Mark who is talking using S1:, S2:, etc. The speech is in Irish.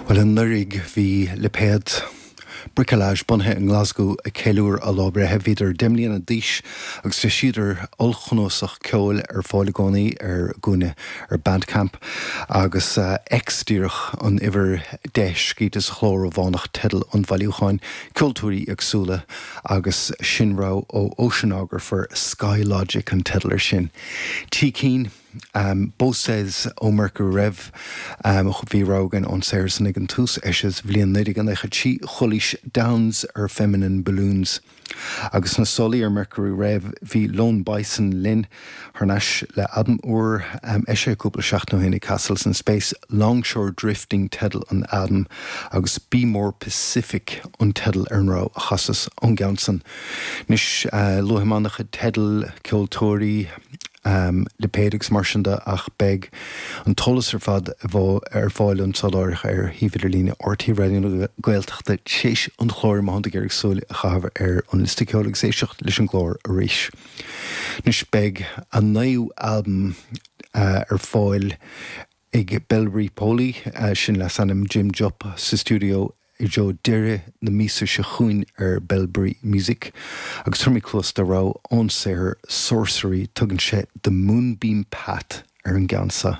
S1: Bhuel, anuraidh bhí lipéad Bricolage bunaithe i nGlasgow ag ceiliúradh a lá breithe. Bhíodar 10 mbliana d'aois agus d'eisíodar ollchnuasach ceoil ar fáil i gcónaí ar a gcúinne ar Bandcamp agus X díreach an uimhir 10 scríte sa chló Rómhánach teideal an bhailiúcháin, ceoltóirí éagsúla agus sin rogha ó Oceanographer, Sky Logic an teideal ar sin. Tí Keane. Bo Says ó Mercury Rev, bhí rogha againn ón saothar san ag an tús, eisithe sa bhliain 1993, Chulaois Downs ar Feminine Balloons. Agus sna sála ar Mercury Rev bhí Lone Bison linn thar n-ais le albam úr, eisithe cúpla seachtain ó shin ag Castles in Space, Longshore Drifting teideal an albaim agus Be More Pacific an teideal ar an rogha a chasas ón gceann san. Anois, luaigh mé an-chuid teidil, ceoltóirí, lipéid agus mar sin de ach beidh an t-eolas ar fad ar fáil anso láithreach ar shuíomh idirlíne RTÉ Raidió na Gaeltachta tar éis an chláir má thánn tú ag iarraidh súil a chaitheamh ar an liosta ceoil agus éisteacht leis an gclár arís. Anois beidh a naoú albam ar fáil ag Belbury Poly, sin leasainm Jim Jupp, sa stiúideo i dtreo deireadh na míosa seo chugainn ar Belbury Music agus tabharfaidh mé cluas do rogha ón saothar Sorcery, tugann sé The Moonbeam Path ar an gceann seo.